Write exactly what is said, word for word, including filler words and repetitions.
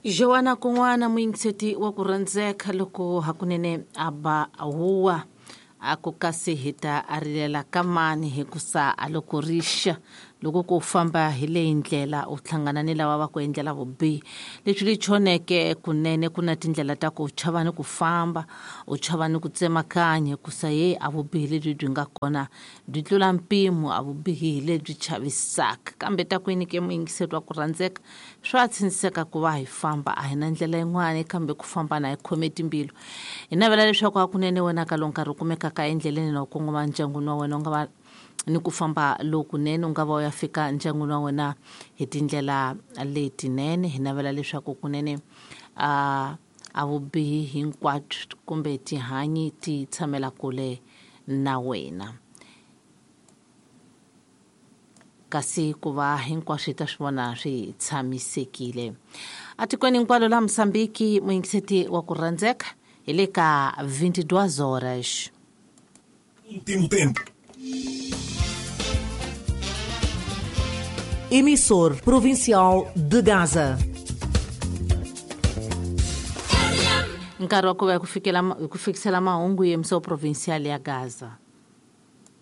Joana kun'wana muyingiseti wa ku rhandzeka loko hakunene a ba huwa a ku kasi hi ta a rilela ka mani hikusa a loko rixa loko ku famba hi leyi ndlela u hlangana ni lava va ku endlela vubihi leswi li choneke kunene ku na tindlela ta ku u chava ni ku famba u chava ni ku tsemakanya hikusa ye a vubihi lebyi byi nga kona byi tlula mpimo a vubihi hi lebyi chavisaka kambe ta ku yini ke muyingiseri wa ku rhandzeka swa tshiniseka ku va hi famba a hi na ndlela yin'wana kambe ku famba na hi khome timbilu hi navela leswaku hakunene wena ka lowu nkarhi u kumekaka endleleni na u kongoma ndyangwini wa wena u nga va ni ku famba lokunene u nga va u ya fika ndyangwini wa wena hi tindlela letinene hi navela leswaku kunene a a vubihi hinkwabyo kumbe tihanyi ti tshamela kule na wena kasi ku va hinkwaswo hi ta swi vona swi tshamisekile atikweni hinkwalo la Mosambiki muyingiseti wa ku rhandzeka hi le ka vingt-deux horas. Último tempo. Emissor Provincial de Gaza. Nkarhi wa ku va hi ku fikela hi ku fikisela mahungu ya emissor provincial ya Gaza.